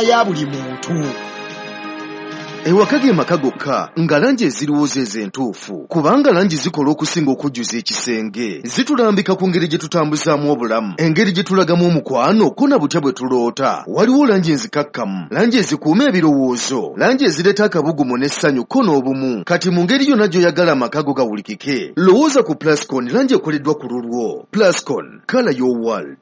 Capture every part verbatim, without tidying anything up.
ya buli muntu. Ewaka ge maka gokka nga langi ezirowooza ezentuufu, kubanga langi zikola okusinga okujjuza ekisenge. Zitulambika ku ngeri gye tutambuzaamu obulamu, engeri gye tulagamu omukwano, ko na butya bwe tuloota. Waliwo langi enzikakkamu, langi ezikuuma ebirowoozo, langi ezireeta akabugumu n'essanyu ko n'obumu. Kati mu ngeri yonna gy'oyagala amaka go gawulikike, lowooza ku Plascon, langi ekoleddwa ku lulwo. Plascon, color your world.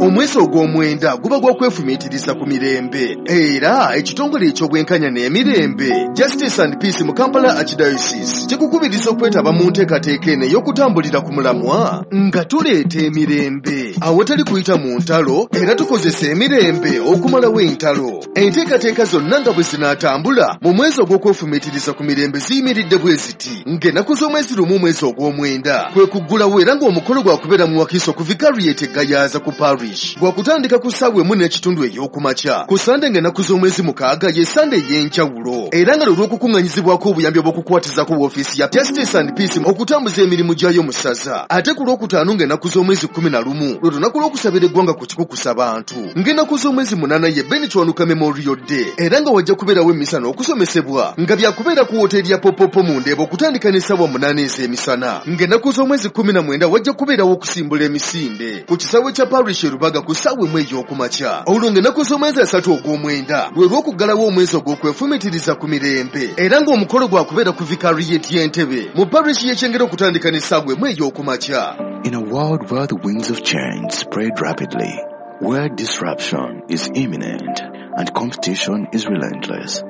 Omwezi ogw'omwenda guba gwa kwefumiitiriza ku mirembe, era ekitongole eky'obwenkanya n'emirembe Justice and Peace mu Kampala Archdiocese kikukubiriza okwetaba mu nteekateeka eno ey'okutambulira ku mulamwa nga tuleeta emirembe awatali kuyita mu ntalo, era tukozesa emirembe okumalawo entalo. Enteekateeka zonna nga bwe zinaatambula mu mwezi ogw'okwefumiitiriza ku mirembe ziyimiridde bwe ziti: ng'ennaku z'omwezi lumu omwezi ogw'omwenda kwe kuggulawo, era ng'omukolo gwakubeera mu Wakiso ku Vicariate Gayaza ku Parish, gwakutandika ku ssaawa emu n'ekitundu ey'okumakya. Ku Sande ng'ennaku z'omwezi mukaaga ye Sande ey'enjawulo, era nga lwe lw'okukuŋŋanyizibwako obuyambi obw'okukwatizako woofiisi ya Justice and Peace okutambuza emirimu gyayo mu ssaza. Ate ku Lwokutaano ng'ennaku z'omwezi kkumi na lumu lwe lunaku lw'okusabira eggwanga ku kikukusa bantu. Ng'ennaku z'omwezi munaana ye Ben Kiwanuka Memorial Day, era nga wajja kubeerawo emmisa n'okusomesebwa nga byakubeera ku woteeri ya Popopo mu Ndeeba okutandika n'essaawa munaana ez'emisana. Ng'ennaku z'omwezi kkumi na mwenda wajja kubeerawo okusimbula emisinde ku kisaawe kya Parish e Rubaga ku ssaawa emu ey'okumakya. Olwo ng'ennaku z'omwezi asatu ogw'omwenda lwe lw'okuggalawo omwezi ogw'okwefumiitiriza ku mirembe, era ng'omukolo gwakubeera ku Vicariate y'Entebe mu parish y'e Kyengera okutandika n'essaawa emu ey'okumakya. In a world where the winds of change spread rapidly, where disruption is imminent and competition is relentless,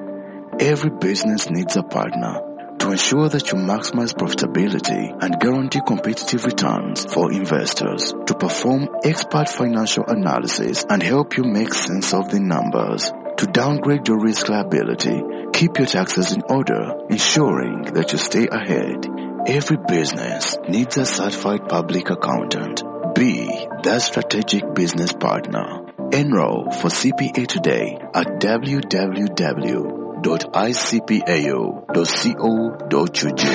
every business needs a partner to ensure that you maximize profitability and guarantee competitive returns for investors, to perform expert financial analysis and help you make sense of the numbers, to downgrade your risk liability, keep your taxes in order, ensuring that you stay ahead. Every business needs a certified public accountant. Be that strategic business partner. Enroll for C P A today at w w w dot i c p a u dot co dot u g.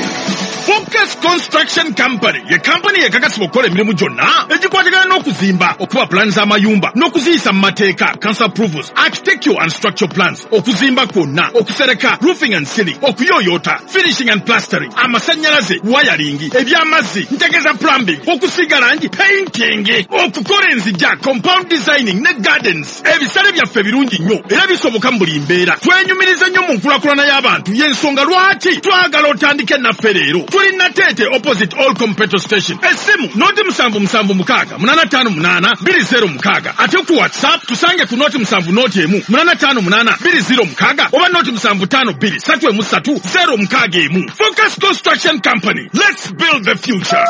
Focus Construction Company ye company ekakasibwa okukola emirimu gyonna egikwatagana n'okuzimba, okuba pulaani z'amayumba n'okuziyisa mu mateeka, council approvals, architectural and structural plans, okuzimba kwonna, okusereka, roofing and ceiling, okuyooyoota, finishing and plastering, amasannyalaze, wiring, eby'amazzi, ntegeeza plumbing, okusiiga langi, painting, okukola enzigya, compound designing ne gardens. Ebisale byaffe birungi nnyo era bisoboka mu buli mbeera. Twenyumiriza nnyo mu nkulaakulana y'abantu, y'ensonga lwaki twagala otandike naffe leero. Tuli Nateete opposite All Petrol Station. Essimu noti musanvu musanvu mukaaga munaana ttaano munaana bbiri zero mukaaga. Ate ku WhatsApp tusange ku noti musanvu noti emu munaana ttaano munaana bbiri zero mukaaga oba noti musanvu ttaano bbiri ssatu emu ssatu zero mukaaga emu. Focus Construction Company. Let's build the future.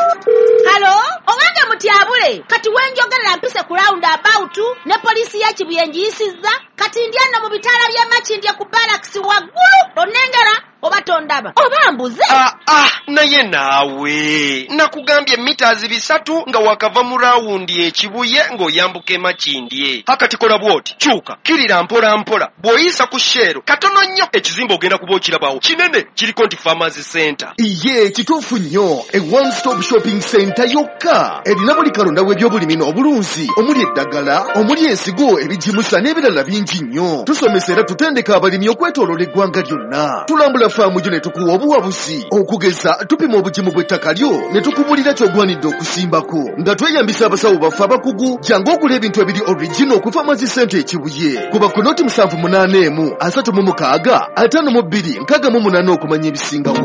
Halo, owange mutyabule. Kati wenjogerera mpise ku round about ne poliisi ya Kibuye ngiyisizza. Kati ndi ano mu bitaala by'e Makindye ku barracks waggulu. Onnengera oba tondaba oba mbuze. Ah, ah, naye naawe nakugambye mitazi bisatu nga wakava mu rawundi ekibuye ng'oyambuka e Makindye. Hakati kola bw'oti, kyuka kirira mpola mpola, bw'oyisa ku Shell katono nnyo ekizimbe ogenda kuba okirabawo kinene, kiriko nti Farmers Center. Iye kituufu nnyo, e one stop shopping center yokka erina buli kalonda w'ebyobulimi n'obulunzi, omuli eddagala, omuli ensigo, ebigimusa n'ebirala bingi nnyo. Tusomesa era tutendeka abalimi okwetooloola eggwanga lyonna. Tulambula faamu gyo ne tukuwa obuwabuzi, okugeza tupima obugimu bw'ettaka lyo ne tukubulira ky'ogwanidde okusimbako nga tweyambisa abasawo baffe abakugu. Jangu ogula ebintu ebiri original ku Farmers Center e Kibuye. Kuba ku noti musanvu munaana emu asatu mu mukaaga ataano mu bbiri nkaaga mu munaana okumanya ebisingawo.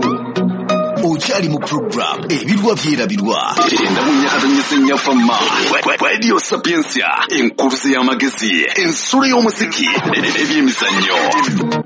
Okyali mu program Ebirwa Byerabirwa. Radio Sapientia, enkuruze y'amagezi, ensulo y'omuziki, ebyemizannyo.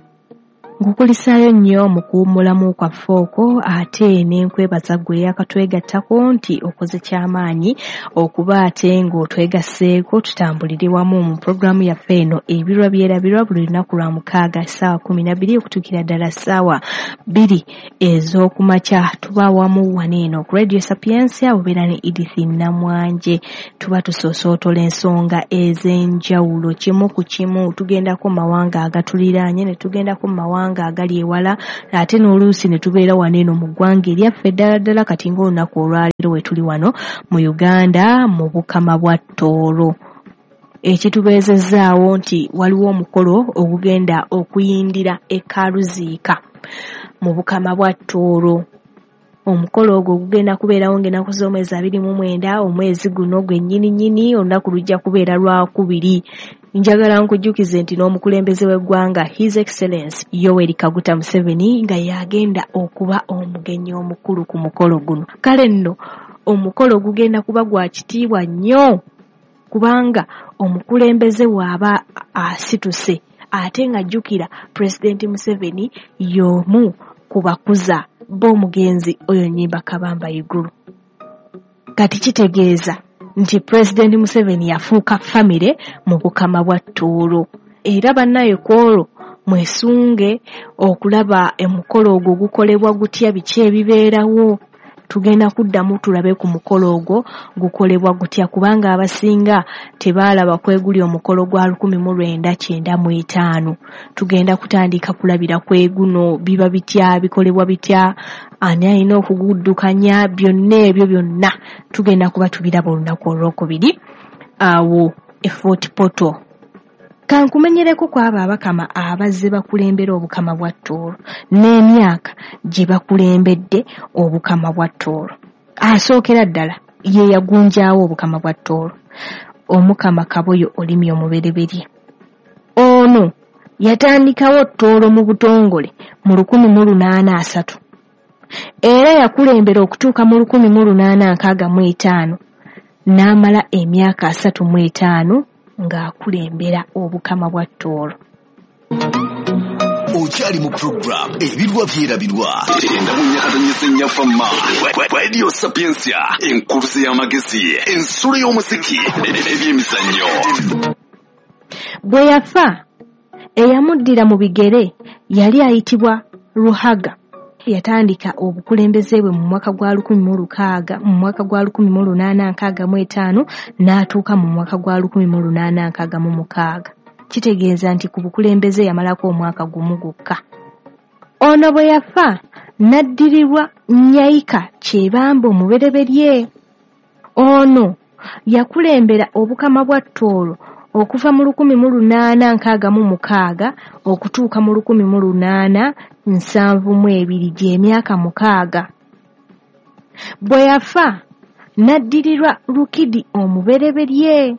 Nkukulisaayo nnyo mu kuwummulamu kwaffe okwo, ate n'enkwebaza ggwe eyakatwegattako nti okoze kyamaanyi okuba ate ng'otwegasseeko tutambulire wamu mu pulogulaamu yaffe eno Ebirwa Byerabirwa buli lunaku lwa mukaaga essaawa kkumi na bbiri okutuukira ddala ssaawa bbiri ez'okumakya. Tuba wamu wano eno ku Radio Sapientia, obeera ne Edith Namwanje. Tuba tusoosootola ensonga ez'enjawulo kimu ku kimu, tugendako mu mawanga agatuliraanye ne tugendako mu mawanga mawanga agali ewala, ate n'oluusi ne tubeera wano eno mu ggwanga eryaffe ddala ddala. Kati ng'olunaku olwaleero we tuli wano mu Uganda mu Bukama bwa Tooro. Ekitubeezezzaawo nti waliwo omukolo ogugenda okuyindira e Karuziika mu Bukama bwa Tooro. Omukolo ogwo gugenda kubeerawo ng'ennaku z'omwezi abiri mu mwenda omwezi guno gwennyini nnyini, olunaku lujja kubeera lwakubiri. Njagala nkujjukize nti n'omukulembeze w'eggwanga His Excellence Yoweri Kaguta Museveni nga yagenda okuba omugenyi omukulu ku mukolo guno. Kale nno omukolo gugenda kuba gwa kitiibwa nnyo, kubanga omukulembeze bw'aba asituse ate ng'ajjukira Pulezidenti Museveni y'omu ku bakuza b'omugenzi oyo Nyimba Kabamba Iguru. Kati kitegeeza nti Pulezidenti Museveni yafuuka famire mu Bukama bwa Tooro. Era bannaye ku olwo mwesunge okulaba emukolo ogwo gukolebwa gutya, biki ebibeerawo. Tugenda kuddamu tulabe ku mukolo ogwo gukolebwa gutya, kubanga abasinga tebaalaba kweguli omukolo gwa lukumi mu lwenda kyenda mu etaano. Tugenda kutandika kulabira kweguno, biba bitya, bikolebwa bitya, ani alina okuguddukanya, byonna ebyo byonna tugenda kuba tubiraba olunaku olwokubiri awo e Fort Portal. Kankumenyereko ku abo abakama abazze bakulembera Obukama bwa Tooro n'emyaka gye bakulembedde Obukama bwa Tooro. Asookera ddala ye yagunjaawo Obukama bwa Tooro, Omukama Kaboyo Olimi Omubereberye. Ono yatandikawo Tooro mu butongole mu lukumi mu lunaana asatu, era yakulembera okutuuka mu lukumi mu lunaana nkaaga mu etaano, n'amala emyaka asatu mu etaano ng'akulembera Obukama bwa Tooro. Okyali mu program Ebirwa Byerabirwa Radio Sapientia, enkurusi y'amagezi, ensulo y'omuziki n'ebyemizannyo. Bwe yafa, eyamuddira mu bigere yali ayitibwa Ruhaga. Yatandika obukulembeze bwe mu mwaka gwa lukumi mu lukaaga mu mwaka gwa lukumi mu lunaana nkaaga mu etaano n'atuuka mu mwaka gwa lukumi mu lunaana nkaaga mu mukaaga. Kitegeeza nti ku bukulembeze yamalako omwaka gumu gwokka. Ono bwe yafa n'addirirwa Nyaika Kyebamba Omubereberye. Ono yakulembera Obukama bwa Tooro okuva mu lukumi mu lunaana nkaaga mu mukaaga okutuuka mu lukumi mu lunaana nsanvu mu ebiri, gy'emyaka mukaaga. Bwe yafa n'addirirwa Rukidi Omubereberye,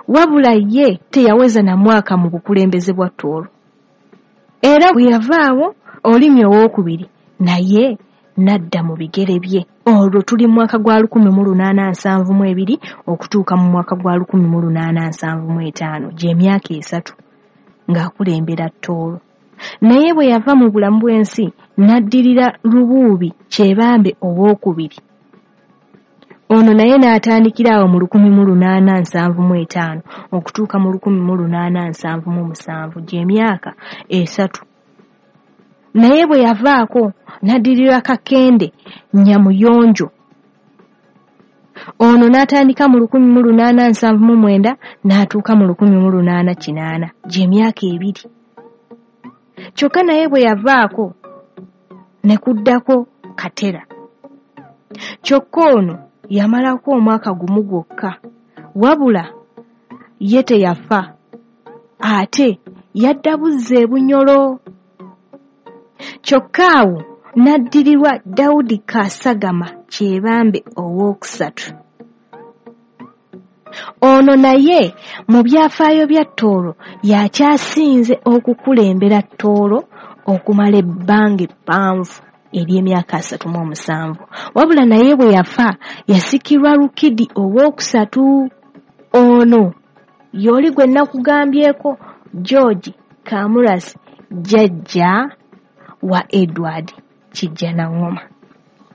wabula ye teyaweza na mwaka mu bukulembeze bwa Tooro. Era bwe yavaawo Olimi owookubiri naye n'adda mu bigere bye. Olwo tuli mu mwaka gwa lukumi mu lunaana nsanvu mu ebiri okutuuka mu mwaka gwa lukumi mu lunaana nsanvu mu etaano, gy'emyaka esatu ng'akulembera Tooro. Naye bwe yava mu bulamu bw'ensi n'addirira Lubuubi Kyebambe owookubiri. Ono naye n'atandikira awo mu lukumi mu lunaana nsanvu mu etaano okutuuka mu lukumi mu lunaana nsanvu mu musanvu, gy'emyaka esatu. Naye bwe yavaako n'addirira Kakende Nyamuyonjo. Ono n'atandika mu lukumi mu lunaana nsanvu mu mwenda n'atuuka mu lukumi mu lunaana kinaana, gy'emyaka ebiri. Kyokka naye bwe yavaako ne kuddako Katera. Kyokka ono yamalako omwaka gumu gwokka, wabula ye teyafa, ate yadda buzza e Bunyoro. Kyokka awo n'addirirwa Daudi Kasagama Kyebambe owookusatu. Ono naye mu byafaayo bya Tooro yakyasinze okukulembera Tooro okumala ebbanga eppanvu ery'emyaka asatu mu omusanvu. Wabula naye bwe yafa yasikirwa Rukidi owookusatu. Ono y'oli gwe nakugambyeko George Kamurasi, jjajja wa Edward Kijjanangoma.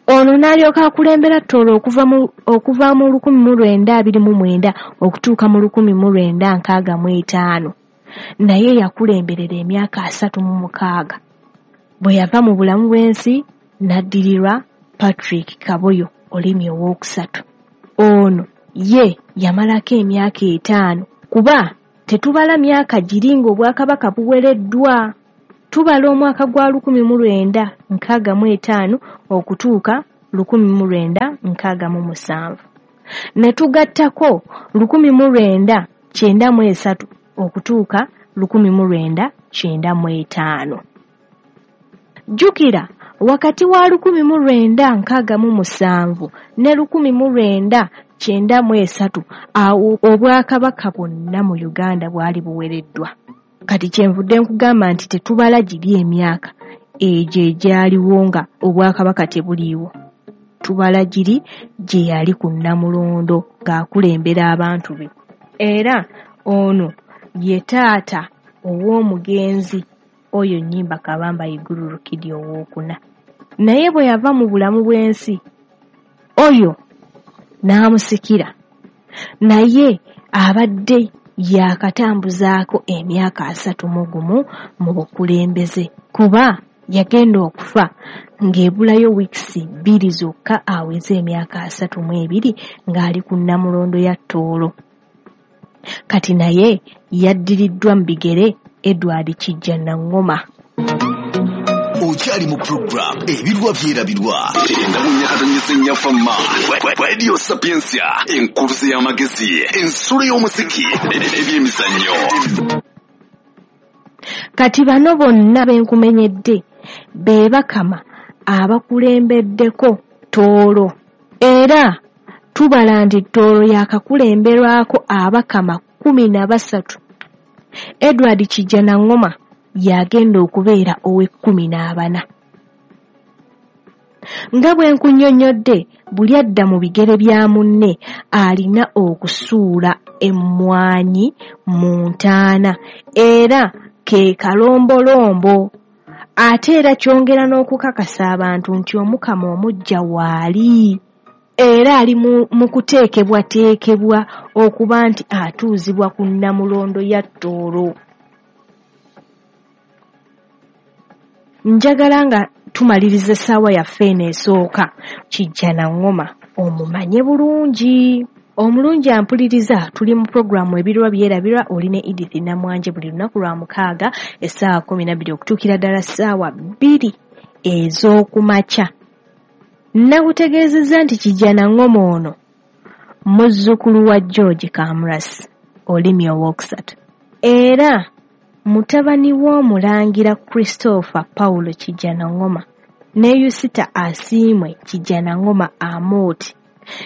Ono n'alyoka akulembera Tooro okuva mu okuva mu lukumi mu lwenda abiri mu mwenda okutuuka mu lukumi mu lwenda nkaaga mu etaano. Naye yakulemberera emyaka asatu mu mukaaga. Bwe yava mu bulamu bw'ensi n'addirirwa Patrick Kaboyo Olimi owookusatu. Ono ye yamalako emyaka etaano, kuba tetubala myaka giri ng'obwakabaka buwereddwa. Tubala omwaka gwa lukumi mu lwenda nkaaga mu etaano okutuuka lukumi mu lwenda nkaaga mu musanvu. Ne tugattako lukumi mu lwenda kyenda mu esatu okutuuka lukumi mu lwenda kyenda mu etaano. Jjukira wakati wa lukumi mu lwenda nkaaga mu musanvu ne lukumi mu lwenda kyenda mu esatu awo obwakabaka bwonna mu Uganda bwali buwereddwa. Kati kyenvudde nkugamba nti tetubala giri emyaka egyo egyaliwo nga obwakabaka tebuliiwo. Tubala giri gye yali ku Nnamulondo ng'akulembera abantu be. Era ono ye taata ow'omugenzi oyo Nnyimba Kabamba Iguru Rukidi owookuna. Naye bwe yava mu bulamu bw'ensi oyo n'amusikira, naye abadde yakatambuzaako emyaka asatu mu gumu mu bukulembeze, kuba yagenda okufa ng'ebulayo wiikisi bbiri zokka aweze emyaka asatu mu ebiri ng'ali ku Nnamulondo ya Tooro. Kati naye yaddiriddwa mu bigere Edward Kijja Nangoma. Okyali mu program Ebirwa Byerabirwa Radio Sapientia, enkuruze y'amagezi, ensulo y'omuziki, ebyemizannyo. Kati bano bonna benkumenyedde be bakama abakulembeddeko Tooro. Era tubala nti Tooro yakakulemberwako abakama kkumi na basatu. Edward Kijja Nangoma yagenda okubeera ow'ekkumi n'abana. Nga bwe nkunnyonnyodde, buli adda mu bigere bya munne alina okusuula emmwanyi mu ntaana, era ke kalombolombo. Ate era kyongera n'okukakasa abantu nti Omukama omuggya waali, era ali mu kuteekebwateekebwa okuba nti atuuzibwa ku Nnamulondo ya Tooro. Njagala nga tumaliriza essaawa yaffe eno esooka, Kijja Nangoma omumanye bulungi. Omulungi ampuliriza, tuli mu puroguramu Ebirwa Byerabirwa, oli ne Edith Namwanje buli lunaku lwa mukaaga essaawa kkumi na bbiri okutuukira ddala ssaawa bbiri ez'okumakya. Nakutegeezezza nti Kijja Nangoma ono muzzukulu wa George Kamurasi Olimi owookusatu, era mutabani w'omulangira Christopher Paulo Kijja Nangoma ne Yusita Asiimwe Kijja Nangoma Amooti.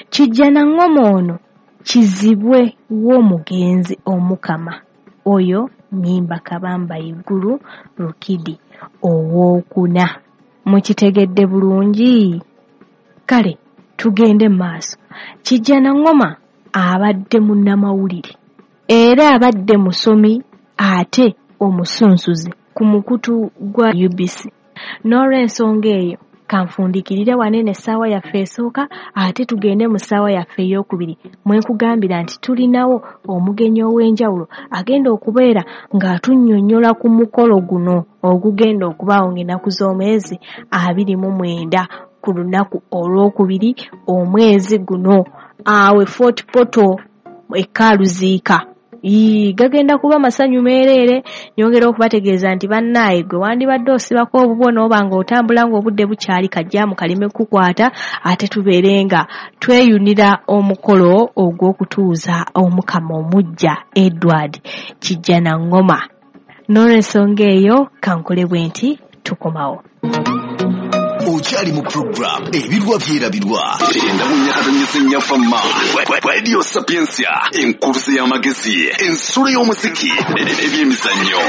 Kijja Nangoma ono kizibwe w'omugenzi Omukama oyo Nnyimba Kabamba Iguru Rukidi owookuna. Mukitegedde bulungi? Kale tugende mu maaso. Kijja Nangoma abadde munnamawulire era abadde musomi ate omusunsuzi ku mukutu gwa U B C. N'olw'ensonga eyo kanfundikirire wanene essaawa yaffe esooka, ate tugende mu ssaawa yaffe ey'okubiri mwe nkugambira nti tulinawo omugenyi ow'enjawulo agenda okubeera ng'atunnyonnyola ku mukolo guno ogugenda okubaawo ng'ennaku z'omwezi abiri mu mwenda ku lunaku olwokubiri omwezi guno awe Fort Portal e Kaluziika. Ii, gagenda kuba masanyu meereere. Nyongera okubategeeza nti bannaaye gwe wandibadde osibako obubwo n'oba ng'otambula ng'obudde bukyali, kajjaamu kaleme kukwata, ate tubeere nga tweyunira omukolo ogw'okutuuza Omukama omuggya Edward Kijja Nangoma. N'olw'ensonga eyo kankole bwe nti tukomawo. Okyali mu program Ebirwa Byerabirwa Radio Sapientia, enkuruze y'amagezi, ensulo y'omuziki, ebyemizannyo.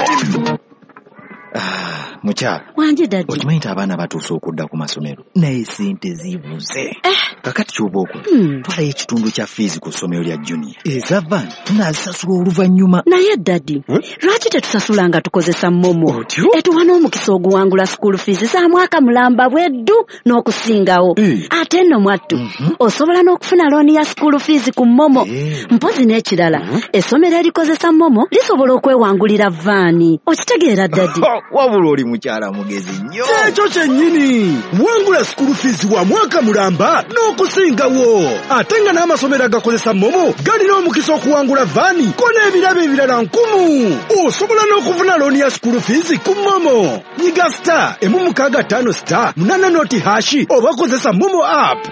Ah, mukyala wanje daddy, okimanyi nti abaana batuuse okudda ku masomero naye sente zibuze. Eh. Kakati ky'oba okola, Hmm. twalayo ekitundu kya fiizi ku ssomero lya Junior, eza van tunaazisasula oluvannyuma. Naye daddy, lwaki tetusasula nga tukozesa MoMo? Otyo? Etuwa n'omukisa oguwangula school fees za mwaka mulamba bweddu n'okusingawo. Eh. Ate nno mwattu, Mhm. osobola n'okufuna looni ya school fees ku MoMo. Eh. Mpozi n'ekirala, essomero erikozesa MoMo lisobola okwewangulira vaani. Okitegeera daddy? Wabula oli Mukyala mugezi nnyo. Kyekyo kyennyini. Wangula school fees wa mwaka mulamba n'okusingawo. Ate nga n'amasomero agakozesa MoMo galina omukisa okuwangula vaani ko n'ebirabo ebirala nkumu. Osobola n'okufuna looni ya school fees ku MoMo. Nyiga star emu mukaaga ttaano star munaana noti hashi oba kozesa MoMo app.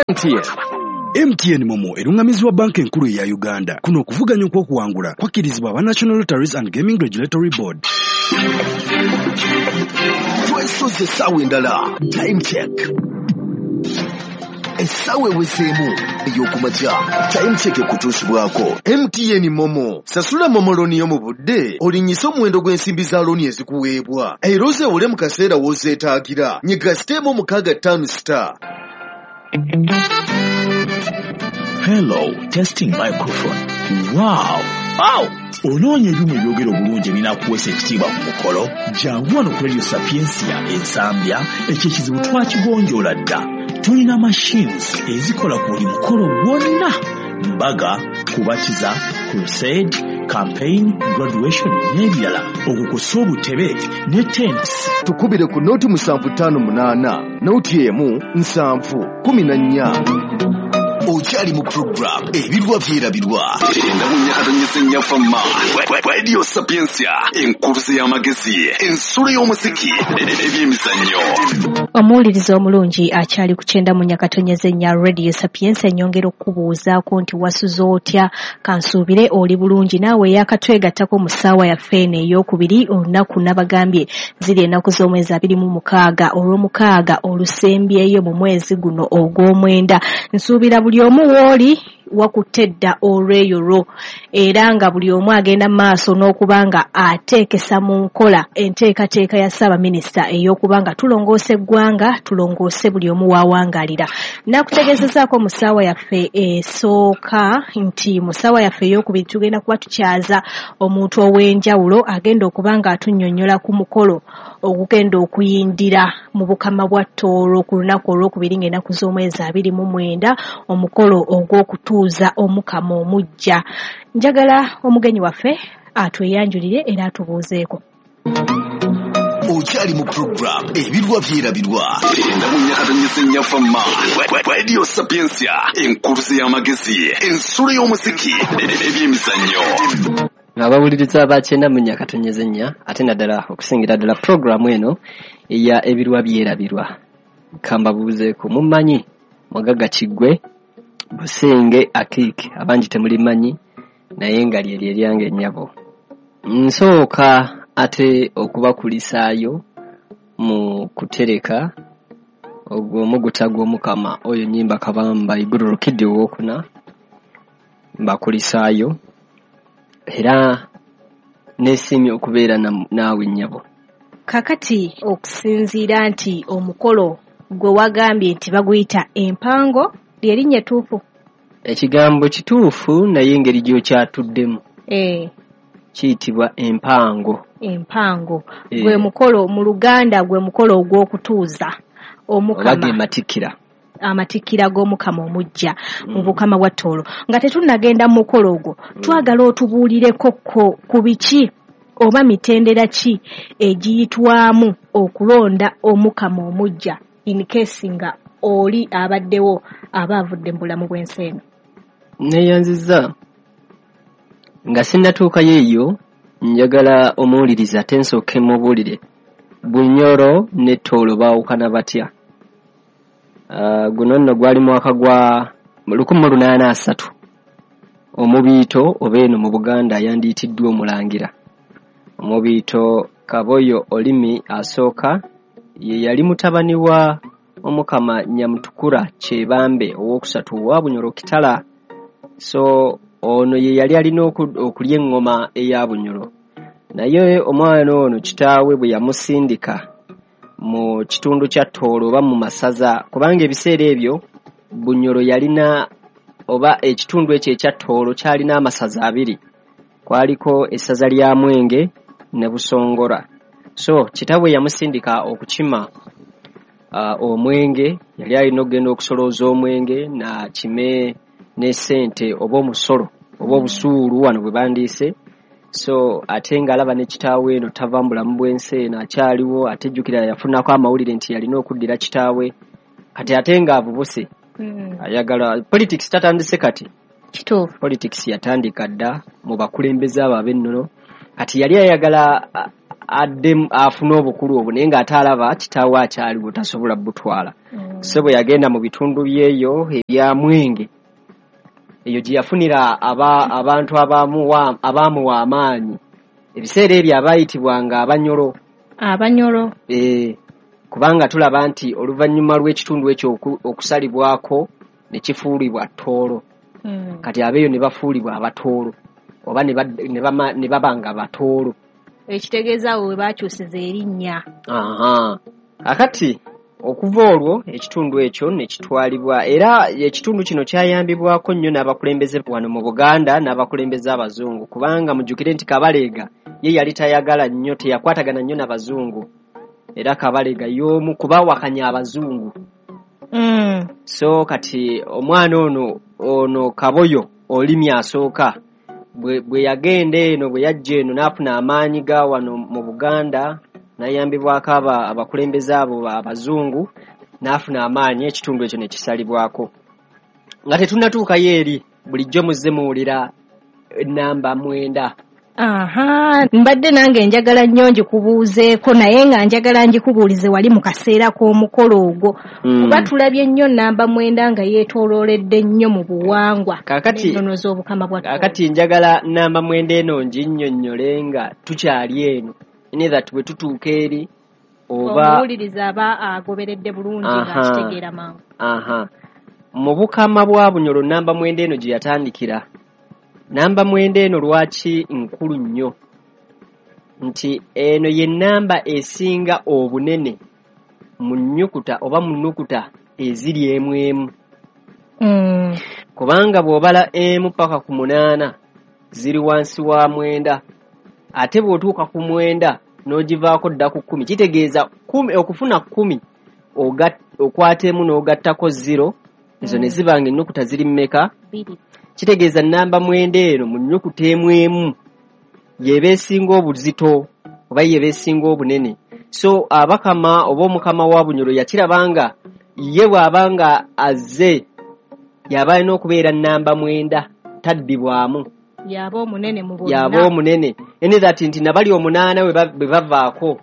M T N. M T N MoMo erungamizibwa banka enkulu eya Uganda. Kuno okuvuganya okw'okuwangula kwakkirizibwa aba National Lotteries and Gaming Regulatory Board. Twesoze essaawa endala. Time check. Essaawa ewezeemu ey'okumakya. Time check ekutuusibwako M T N MoMo. Sasula MoMo looni yo mu budde olinnyise omuwendo gw'ensimbi za looni ezikuweebwa. Era ozeewole mu kaseera w'ozeetaagira. Nyiga star emu mukaaga ttaano star. Hello, testing microphone. Wow! Wow! Onoonya ebyuma ebyogera obulungi ebinaakuweesa ekitiibwa ku mukolo? Jangu wano ku Radio Sapientia Ensambya, ekyo ekizibu twakigonjoola dda. Tulina machines ezikola ku buli mukolo gwonna. Mbaga, kubatiza, crusade, campaign, graduation n'ebirala. Okwo kw'ossa obutebe ne tents. Tukubire ku nooti musanvu ttaano munaana, nooti emu nsanvu kumi na nnya. Okyali mu program ebirwa byerabirwa. Endabunyakatonyese nnyafamma. Radio Sapientia, enkuluze y'amagezi, ensulo y'omuziki, ebyemizannyo. Omuwuliriza omulungi akyali ku kyenda mu nyakatonyeze nnya Radio Sapientia, nnyongera okukubuuzaako nti wasuze otya? Kansuubire oli bulungi naawe eyakatwegattako mu ssaawa yaffe eno ey'okubiri. Olunaku nabagambye ziri ennaku z'omwezi abiri mu mukaaga olw'omukaaga olusembyeyo mu mwezi guno ogw'omwenda. Nsuubira buli omu w'oli wakutte dda olweyo lwo, era nga buli omu agenda maaso n'okuba nga ateekesa mu nkola enteekateeka ya Ssaabaminisita ey'okuba nga tulongoosa eggwanga, tulongoose buli omu w'awangalira. Nakutegeezezaako mu ssaawa yaffe esooka nti mu ssaawa yaffe ey'okubiri tugenda kuba tukyaza omuntu ow'enjawulo agenda okuba nga atunnyonnyola ku mukolo ogugenda okuyindira mu Bukama bwa Tooro ku lunaku olwokubiri ng'ennaku z'omwezi abiri mu mwenda, omukolo ogw'okutuuza Omukama omuggya. Njagala omugenyi waffe atweyanjulire era atubuuzeeko. Okyali mu program ebirwa byerabirwa. Endabunyakatonyese nnyafamma. Radio Sapientia, enkuluze y'amagezi, ensulo y'omuziki, ebyemizannyo. Abawuliriza abakyenda mu nyakatonyeze nnya, ate naddala okusingira ddala puroguramu eno eya ebirwa byerabirwa. Kambabuuzeeko, mumanyi Mugagga Kiggwe Busenge Akiiki, abangi temulimanyi naye nga lyeryo eryange nnyabo. Nsooka ate okubakulisaayo mu kutereka ogwo omuguta gw'Omukama oyo Nnyimba Kabamba Iguru Rukidi owokuna, mbakulisaayo era neesiimye okubeera naawe nnyabo. Kakati okusinziira nti omukolo gwe wagambye nti baguyita empango, lyerinnya ettuufu? Ekigambo kituufu naye engeri gy'okyatuddemu. Eh. Kiyitibwa empango. Empango. E. Gwe mukolo mu Luganda gwe mukolo ogw'okutuuza Omukama. Oba ge matikkira. Amatikkira g'Omukama omuggya mu Bukama bwa Tooro. Nga tetunnagenda mu mukolo ogwo, twagala otubuulireko ko ku biki oba mitendera ki egiyitwamu okulonda Omukama omuggya in case nga oli abaddewo aba avudde mu bulamu bw'ensi eno. Neeyanzizza. Nga sinnatuukayo eyo, njagala omuwuliriza ate nsooke mubuulire Bunyoro ne Tooro baawukana batya. Uh, guno nno gwali mwaka gwa lukumi mu lunaana asatu. Omubiito oba eno mu Buganda yandiyitiddwa omulangira. Omubiito Kaboyo Olimi asooka ye yali mutabani wa Omukama Nyamutukura Kyebambe owookusatu owa Bunyoro Kitala. So ono ye yali alina okulya eŋŋoma eya Bunyoro. Naye omwana ono kitaawe bwe yamusindika mu kitundu kya Tooro oba mu masaza, kubanga ebiseera ebyo Bunyoro yalina oba ekitundu ekyo ekya Tooro kyalina amasaza abiri. Kwaliko essaza lya Mwenge ne Busongora. So kitaawe yamusindika okukima uh, omwenge, yali alina okugenda okusolooza omwenge n'akime ne ssente oba omusolo oba obusuulu wano bwe bandiise. So ate ng'alaba ne kitaawe eno tava mu bulamu bw'ensi eno, akyaliwo, ate jjukira yafunako amawulire nti yalina okuddira kitaawe, kati ate ng'avubuse Mm. ayagala politics. Tatandise kati. Kituufu. Politics yatandika dda mu bakulembeze abo ab'ennono. Kati yali ayagala a- adde afune obukulu obwo, naye ng'ate alaba kitaawe akyaliwo tasobola butwala. Mm. So bwe yagenda mu bitundu byeyo ebya Mwenge, eyo gye yafunira aba, abantu abamuwa abaamuwa amaanyi ebiseera ebyo abaayitibwanga Abanyolo. Abanyolo. E, kubanga tulaba nti oluvannyuma lw'ekitundu ekyo oku- okusalibwako ne kifuulibwa Tooro. Mm. Kati abeeyo ne bafuulibwa Abatooro oba ne bad- ne bama- ne baba nga Batooro. Ekitegeeza awo we baakyusiza erinnya. Aha. Akati okuva olwo ekitundu ekyo ne kitwalibwa, era ekitundu kino kyayambibwako nnyo n'abakulembeze wano mu Buganda n'abakulembeze abazungu, kubanga mujjukire nti Kabaleega ye yali tayagala nnyo, teyakwatagana nnyo n'abazungu, era Kabaleega y'omu kubawakanya abazungu. Mm. So kati omwana ono ono Kaboyo Olimi asooka bwe, bwe yagenda eno, bwe yajja eno n'afuna amaanyi ga wano mu Buganda, n'ayambibwako aba abakulembeze abo abazungu, n'afuna amaanyi, ekitundu ekyo ne kisalibwako. Nga tetunnatuukayo eri, bulijjo muzze muwulira namba mwenda. Aha, mbadde nange njagala nnyo ngikubuuzeeko, naye nga njagala ngikubuulize wali mu kaseera k'omukolo ogwo, Mm. kuba tulabye nnyo namba mwenda nga yeetoolooledde nnyo mu buwangwa Kaakati n'ennono z'Obukama bwa Tooro. Kaakati njagala namba mwenda eno nginnyonnyole nga tukyali eno, in that bwe tutuuka eri oba omuwuliriza aba agoberedde bulungi Aha. ng'akitegeera mangu. Aha. Mu Bukama bwa Bunyoro namba mwenda eno gye yatandikira. Namba mwenda eno lwaki nkulu nnyo? Nti eno ye namba esinga obunene mu nnyukuta oba mu nnukuta eziri emu emu. Mm. Kubanga bw'obala emu paka ku munaana ziri wansi wa mwenda, ate bw'otuuka ku mwenda n'ogivaako dda ku kkumi, kitegeeza kkumi, okufuna kkumi oga- okwata emu n'ogattako zero, ezo ne ziba nga ennukuta ziri mmeka? Bbiri. Kitegeeza namba mwenda eno mu nnyukuta emu emu y'eba esinga obuzito oba y'eba esinga obunene. So abakama oba omukama wa Bunyoro yakiraba nga ye bw'aba nga azze y'aba alina okubeera namba mwenda, taddibwamu. Y'aba omunene mu bonna. Y'aba omunene. Ene that nti nabali omunaana bwe ba- bwe bavaako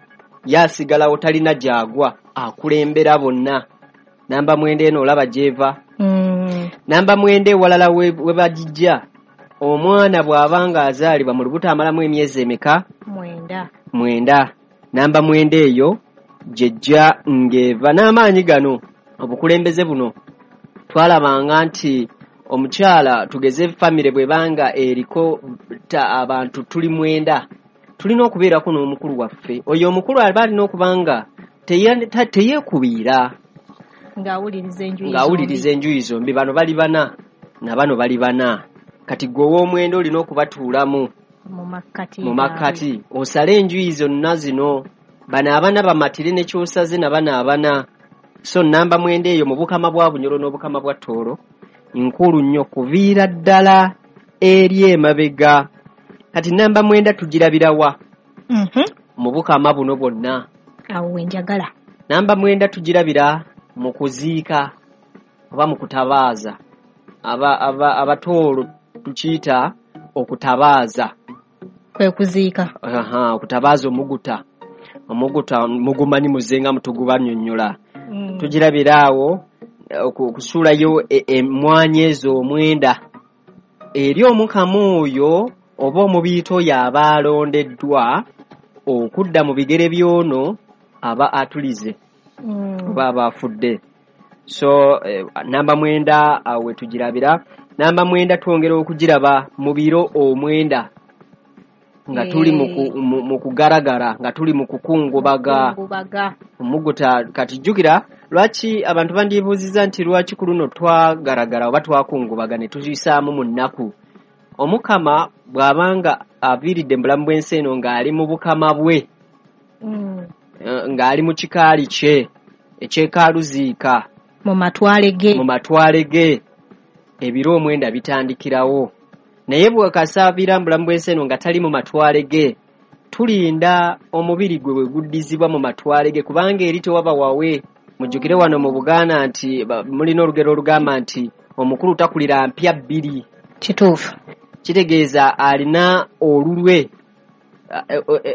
y'asigalawo, talina gy'agwa, akulembera bonna. Namba mwenda eno olaba gy'eva. Mm. Namba mwenda ewalala we we bagijja, omwana bw'aba ng'azaalibwa mu lubuto amalamu emyezi emeka? Mwenda. Mwenda. Namba mwenda eyo gyejja ng'eva n'amaanyi gano, obukulembeze buno. Twalabanga nti omukyala, tugeze famire bw'ebanga eriko ta abantu tuli mwenda, tulina okubeerako n'omukulu waffe. Oyo omukulu aba alina okuba nga teya- ta- teyeekubiira, ng'awuliriza enjuyi ng'awuliriza enjuyi zombi. Bano bali bana na bano bali bana, kati gwe ow'omwenda olina okubatuulamu mu makkati mu makkati, osale enjuyi zonna zino, bano abana bamatire ne kyosaze na bano abana. So namba mwenda eyo mu Bukama bwa Bunyoro n'Obukama bwa Tooro nkulu nnyo kuviira ddala eri emabega. Kati namba mwenda tugirabirawa Mhm. mu Bukama buno bwonna? Awo we njagala. Namba mwenda tugirabira mu kuziika oba mu kutabaaza. Aba, aba, Abatooro tukiyita okutabaaza. Kwe kuziika. Aha, okutabaaza omuguta. Omuguta mugumanyi muzenga mutugubanyonnyola. Mm. Tugirabira awo eh, oku- okusuulayo e- emmwanyi ezo omwenda eri omukama oyo oba omubiito oyo aba alondeddwa okudda mu bigere by'ono aba atulize Mm. oba aba afudde. So eh, namba mwenda awo we tugirabira. Namba mwenda twongera okugiraba mu biro omwenda nga tuli mu ku- mu- mu kugaragara, nga tuli mu kukungubaga. Kukungubaga. Omuguta. Kati jjukira lwaki abantu bandibuuzizza nti lwaki ku luno twagaragara oba twakungubaga ne tuyisaamu mu nnaku. Omukama bw'abanga aviiridde mu bulamu bw'ensi eno ng'ali mu bukama bwe, Mm. eh, ng'ali mu kikaali kye ekyekaaluziika, mu matwale ge, mu matwale ge, ebiro omwenda bitandikirawo. Naye bw'akasaabira mu bulamu bw'ensi eno nga tali mu matwale ge, tulinda omubiri gwe bwe guddizibwa mu matwale ge, kubanga eri tewaba wawe. Mujjukire wano mu Buganda nti mulina olugero olugamba nti omukulu takulira mpya bbiri. Kituufu. Kitegeeza alina olulwe,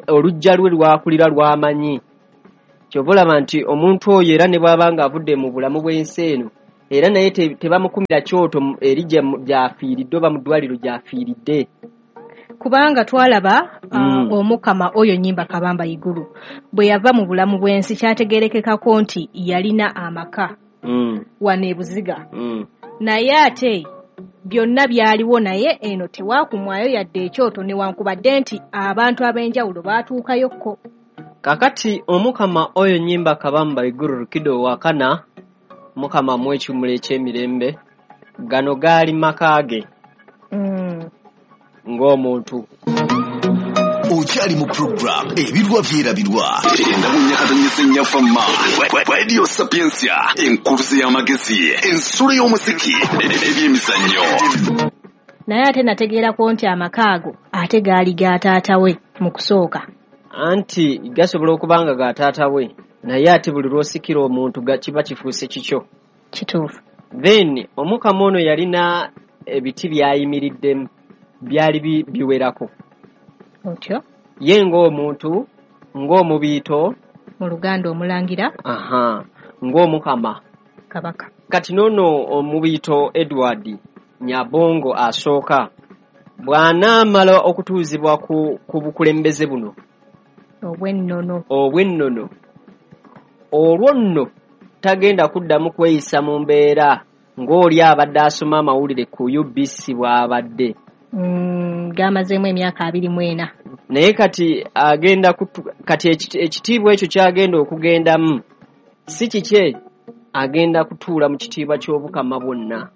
oluggya lwe lwakulira lw'amanyi. Kyova olaba nti omuntu oyo era ne bw'aba ng'avudde mu bulamu bw'ensi eno, era naye tebamukumira kyoto eri gy'afiiridde oba mu ddwaliro gy'afiiridde. Kubanga twalaba mm. uh, omukama oyo Nyimba Kabamba Iguru bwe yava mu bulamu bw'ensi kyategerekekako nti yalina amaka mm. wano e Buziga. mm. Naye ate byonna byaliwo, naye eno tewakumwayo yadde ekyoto newankubadde nti abantu ab'enjawulo baatuukayokko. Kakati omukama oyo Nyimba Kabamba Iguru Rukido wakana, mukama mw'ekiwummulo eky'emirembe, gano gaali maka ge mm. ng'omuntu. Okyali mu program Ebirwa Byerabirwa endabunyakatonyesennyafa Radio Sapientia, enkuruze y'amagezi, ensulo y'omuziki, ebyemizannyo. Naye ate nategeerako nti amaka ago ate gaali ga taata we mu kusooka. Anti gasobola okuba nga ga taata we, naye ate buli lw'osikira omuntu kiba kifuuse kikyo. Kituufu. Then omukama ono yalina ebiti by'ayimiriddemu byali biwerako. Otyo? Ye ng'omuntu, ng'omubiito, mu Luganda omulangira, aha, ng'omukama kabaka. Kati n'ono omubiito Edward Nyabongo asooka bw'anaamala okutuuzibwa ku, ku bukulembeze buno obw'ennono, obw'ennono, olwo nno tagenda kuddamu kweyisa mu mbeera ng'oli abadde asoma amawulire ku U B C bw'abadde. Mm, gamazeemu emyaka abiri mu ena. Naye kati agenda kutu, kati ekitiibwa ekyo kyagenda okugendamu si kikye, agenda kutuula mu kitiibwa ky'obukama bwonna.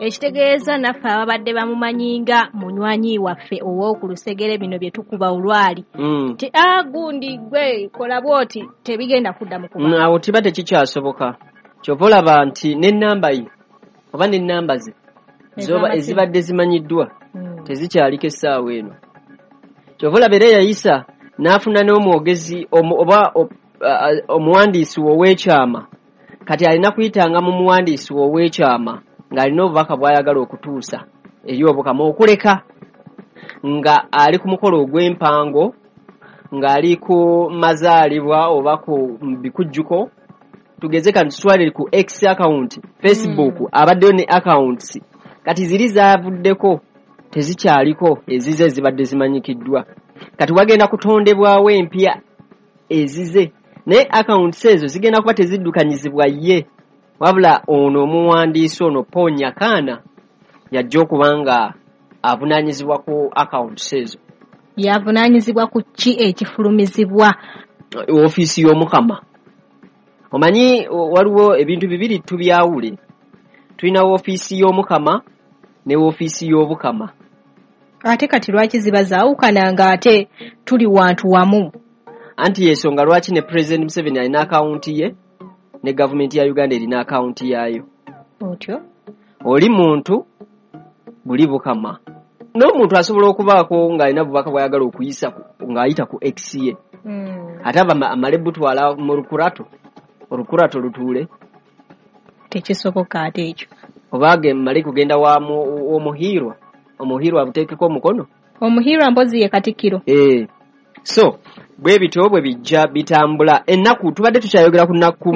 Ekitegeeza naffe ababadde bamumanyi nga munywanyi waffe ow'oku lusegere bino bye tukuba olwali mm. nti a gundi gwe kola bw'oti tebigenda kudda mu kuba. Awo kiba tekikyasoboka. Kyova olaba nti n'ennamba ye oba n'ennamba ze zoba ezibadde zimanyiddwa mm. tezikyaliko essaawa eno. Kyova olaba era yayisa n'afuna n'omwogezi oba omuwandiisi ow'ekyama. Kati alina kuyitanga mu muwandiisi ow'ekyama ng'alina obubaka bw'ayagala okutuusa eri obukama, okuleka nga ali ku mukolo ogw'empango, ng'ali ku mazaalibwa oba ku bikujjuko. Tugeze kati tutwale ku X account, Facebook mm. abaddeyo ne accounts kati ziri zaavuddeko tezikyaliko ezize ezibadde zimanyikiddwa. Kati wagenda kutondebwawo empya ezize, naye accounts ezo zigenda kuba teziddukanyizibwa ye, wabula ono omuwandiisi ono Paul Nyakana yajja okuba nga avunaanyizibwa ku accounts ezo. Yavunaanyizibwa ku ki ekifulumizibwa? Ofiisi y'omukama. Omanyi waliwo ebintu bibiri tubyawule. Tulina ofiisi y'omukama ne ofiisi y'obukama. Ate kati lwaki ziba zaawukana nga ate tuli wantu wamu? Anti yensonga lwaki ne President Museveni alina akawunti ye ne gavumenti ya Uganda erina akawunti yaayo. Otyo? Oli muntu buli bukama. N'omuntu asobola okubaako ng'alina bubaka bw'ayagala okuyisa ng'ayita ku X ye. Mm. Ate aba amale butwala mu lukurato, olukurato lutuule. Tekisoboka ate ekyo. Oba mmale kugenda wa omuhiirwa, omuhiirwa abuteekeko omukono. Omuhiirwa mpozi ye Katikkiro. Eh. So bwe bityo bwe bijja bitambula. Ennaku tubadde tukyayogera ku ku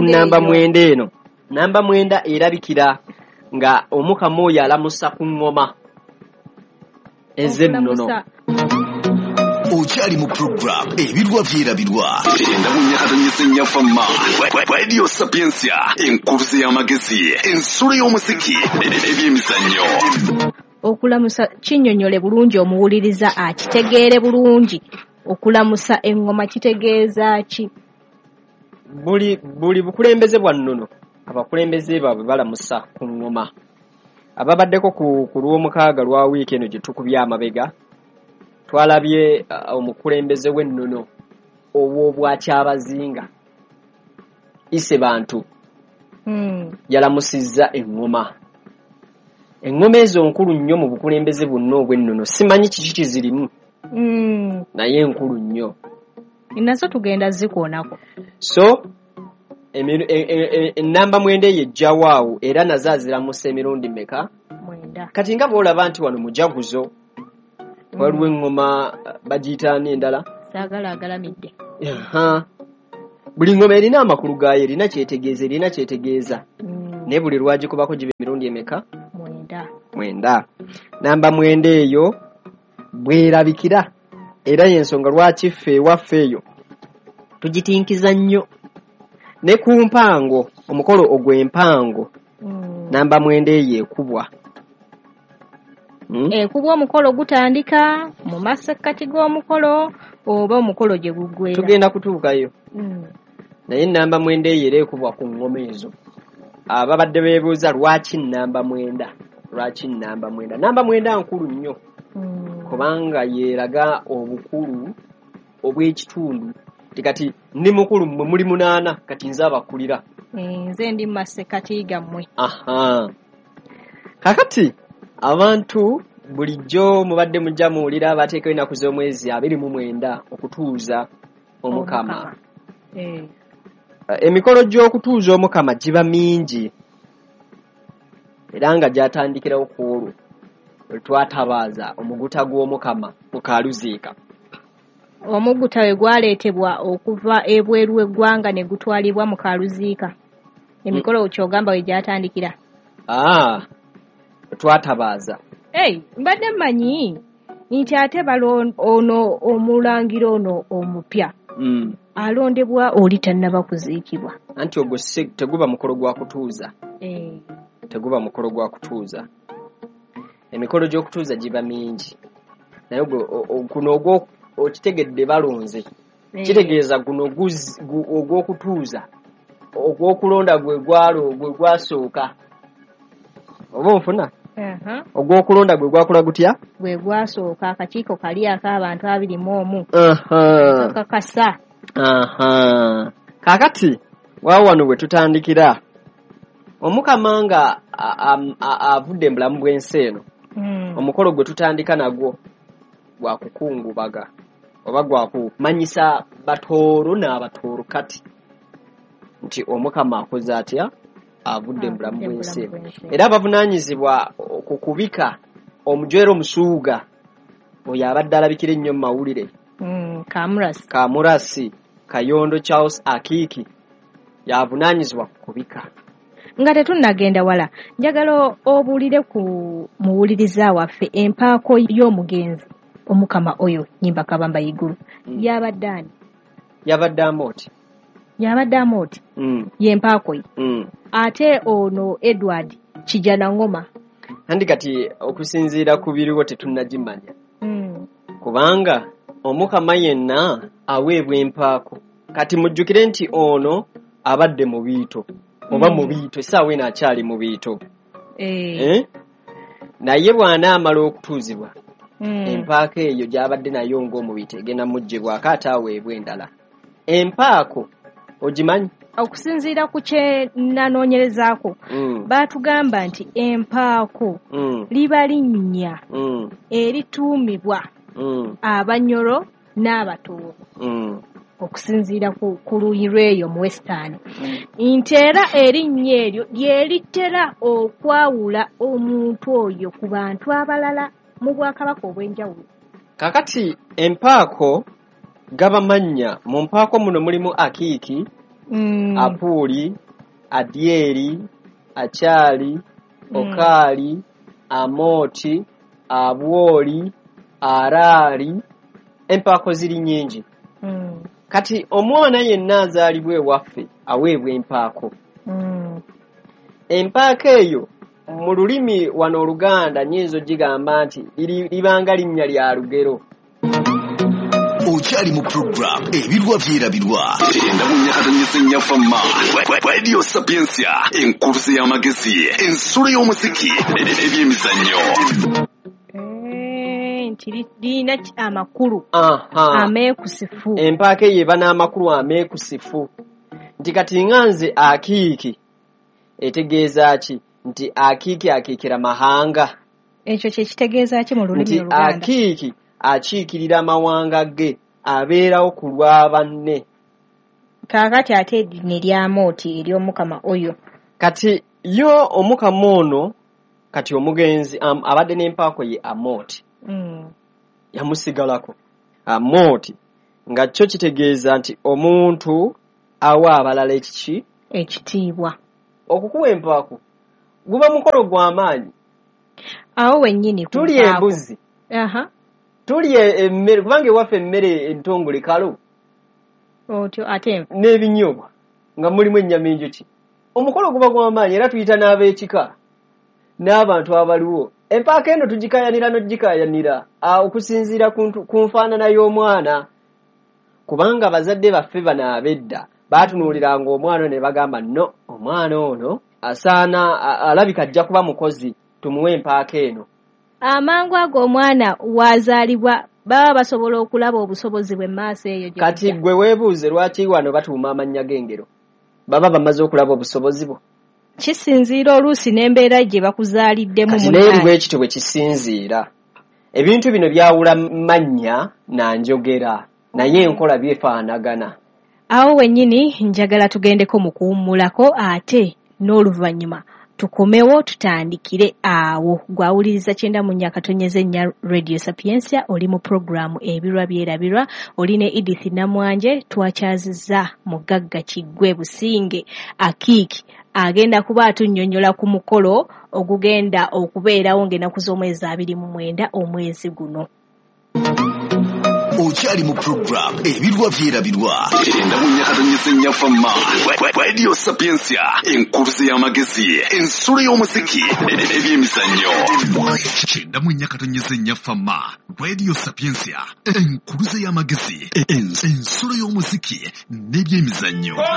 namba mwenda eno. Namba mwenda erabikira nga omukama oyo alamusa ku ngoma ez'ennono. Okyali mu program Ebirwa Byerabirwa endabunyakatonyesennyafa Radio Sapientia, enkuruze y'amagezi, ensulo y'omuziki, ebyemizannyo. Okulamusa kinnyonnyole bulungi omuwuliriza akitegeere bulungi. Okulamusa engoma kitegeeza ki? Buli buli bukulembeze bwa nnono abakulembeze baabwe balamusa ku ngoma. Ababaddeko ku ku lw'omukaaga lwa wiiki eno gye tukubye amabega, twalabye uh, omukulembeze w'ennono ow'obwakyabazinga Ise Bantu mm. yalamusizza engoma. Eŋŋoma ezo nkulu nnyo mu bukulembeze bwonna obw'ennono. Simanyi kiki kizirimu. Mm. Naye nkulu nnyo. Nazo tugenda zikoonako. So ennamba mwenda eyo ejjawo awo era nazo aziramusa emirundi mmeka? Mwenda. Kati nga bw'olaba nti wano mujaguzo waliwo eŋŋoma bagiyita ani endala? Saagala agalamidde. Aha. Buli ŋŋoma erina amakulu gaayo, erina kyetegeeza, erina kyetegeeza. Mm. Naye buli lwagikubako giba emirundi emeka? Mwenda. Mwenda. Namba mwenda eyo bwerabikira era y'ensonga lwaki ffe ewaffe eyo tugitinkiza nnyo. Ne ku mpango, omukolo ogw'empango, Mm. namba mwenda eyo ekubwa. Mm? Ekubwa omukolo gutandika mu masekkati g'omukolo oba omukolo gye guggwera. Tugenda kutuukayo. Mm. Naye namba mwenda eyo era ekubwa ku ŋŋoma ezo. Ababadde beebuuza lwaki namba mwenda? Lwaki namba mwenda? Namba mwenda nkulu nnyo. Mm. Kubanga yeeraga obukulu obw'ekitundu. Kati ndi mukulu mmwe muli munaana, kati nze abakulira. Nze ndi mu masekkati gammwe. Aha. Kakati abantu bulijjo mubadde mujja muwulira bateekayo ennaku z'omwezi abiri mu mwenda okutuuza Omukama. Eh. Emikolo gy'okutuuza Omukama giba mingi era nga gyatandikirawo ku olwo lwe twatabaaza omuguta gw'Omukama mu Kaaluziika. Omuguta we gwaleetebwa okuva ebweru w'eggwanga ne gutwalibwa mu Kaaluziika. Emikolo ky'ogamba we gyatandikira. Ah, twatabaaza. Hey, mbadde mmanyi nti ate balo ono omulangira ono omupya. Mm. Alondebwa oli tannaba kuziikibwa. Anti ogwo si teguba mukolo gwa kutuuza. Eh. Teguba mukolo gwa kutuuza. Emikolo gy'okutuuza giba mingi. Naye ogwo guno ogwo okitegedde balonze. Eh. Kitegeeza guno ogw'okutuuza ogw'okulonda gwe gwalo gwe gwasooka. Oba onfuna? Uh-huh. Ogw'okulonda gwe gwakola gutya? Gwe gwasooka akakiiko kali ak'abantu abiri mu omu. Aha. Kakasa. Aha. Kaakati waawo wano we tutandikira. Omukama nga avudde mu bulamu bw'ensi eno. Mm. Omukolo gwe tutandika nagwo gwa kukungubaga oba gwa kumanyisa Batooro n'Abatooro kati nti Omukama akoze atya? Avudde mu bulamu bw'ensi eno. Era abavunaanyizibwa ku kubika omujwero omusuuga oyo abadde alabikira ennyo mu mawulire. Mm, Kamurasi. Kamurasi Kayondo Charles Akiiki yavunaanyizibwa ku kubika. Nga tetunnagenda wala, njagala obuulire ku muwuliriza waffe empaako y'omugenzi Omukama oyo Nyimba Kabamba Iguru. Mm. Yabadde ani? Yabadde Amooti. Yabadde Amooti. Mm. Ye mpaako ye. Mm. Ate ono Edward Kijana Ngoma. Andi kati okusinziira ku biriwo tetunnagimanya. Mm. Kubanga Omukama yenna aweebwa empaako. Kati mujjukire nti ono abadde mu biito oba Mm. mu biito essaawa eno akyali mu biito. Eh. Eh? Naye bw'anaamala okutuuzibwa Mm. empaako eyo gy'abadde nayo ng'omubiito egenda muggyibwako ate aweebwa endala. Empaako ogimanyi? Okusinziira ku kye nanoonyerezaako Mm. baatugamba nti empaako Mm. liba linnya Mm. erituumibwa Mm. Abanyoro n'Abatooro. Mm. Okusinziira ku, ku luuyi lw'eyo mu Western. Nti era erinnya eryo lye litera okwawula omuntu oyo ku bantu abalala mu bwakabaka obw'enjawulo. Kaakati empaako gaba mannya. Mu mpaako muno mulimu Akiiki, Mm. Apuuli, Adyeri, Akyali, Mm. Okaali, Amooti, Abwoli, Araali. Empaako ziri nnyingi. Mm. Kati omwana yenna azaalibwa ewaffe aweebwa empaako. Mm. Empaako eyo mu lulimi wano Oluganda nnyinza ogigamba nti libanga linnya lya lugero. Okyali mu program Ebirwa Byerabirwa. Enda mu nyakatanyisa ennyafamma. Radio Sapientia, enkuruze y'amagezi, ensulo y'omuziki, ebyemizannyo. Eh, nti lirina amakulu Aha. ameekusifu. Empaako eyo eba n'amakulu ameekusifu. Nti kati nga nze Akiiki etegeeza ki? Nti Akiiki akiikira mahanga. Ekyo kye kitegeeza ki mu lulimi Nti Oluganda? Akiiki akiikirira amawanga ge, abeerawo ku lwa banne. Kaakati ate ne ly'Amooti ery'Omukama oyo. Kati yo Omukama ono, kati omugenzi um, abadde n'empaako ye Amooti. Mm. Yamusigalako. Amooti nga kyo kitegeeza nti omuntu awa abalala ekiki? Ekitiibwa. Okukuwa empaako guba mukolo gw'amaanyi. Awo wennyini ku Tulya mpaako. embuzi. Aha. Tulya emmere, kubanga ewaffe emmere entongole kalo. Otyo ate n'ebinyoobwa nga mulimu ennyama enjoki. Omukolo guba gw'amaanyi era tuyita n'ab'ekika n'abantu abaliwo. Empaako eno tugikaayanira n'ogikaayanira okusinziira ku nfaanana y'omwana. Kubanga bazadde baffe bano ab'edda baatunuuliranga omwana ne bagamba no, omwana ono asaana alabika ajja kuba mukozi, tumuwe empaako eno. Amangu ago omwana wazaalibwa baba basobola okulaba obusobozi bwe maaso eyo gye Kati bujja. gwe weebuuze lwaki wano batuuma amannya g'engero? Baba bamaze okulaba obusobozi bwo. Kisinziira oluusi n'embeera gye bakuzaaliddemu Kati munnaye. n'eri bwe kityo bwe kisinziira. Ebintu bino byawula mannya na njogera, naye enkola byefaanagana. Awo wennyini njagala tugendeko mu kuwummulako ate n'oluvannyuma tukomewo tutandikire awo. Gwawuliriza kyenda mu nnya akatonyeze nnya Radio Sapientia, oli mu puroguraamu Ebirwa Byerabirwa, oli ne Edith Namwanje, twakyazizza Mugagga Kiggwe Businge Akiiki agenda kuba atunnyonnyola ku mukolo ogugenda okubeerawo ng'ennaku z'omwezi abiri mu mwenda omwezi guno. Okyali mu program Ebirwa Byerabirwa. Kyenda mu nnya katonyeze nnya Fama. Radio Sapientia, enkuluze y'amagezi, ensulo y'omuziki, ebyemizannyo. Kyenda mu nnya katonyeze nnya Fama. Radio Sapientia, enkuluze y'amagezi, ensulo y'omuziki n'ebyemizannyo.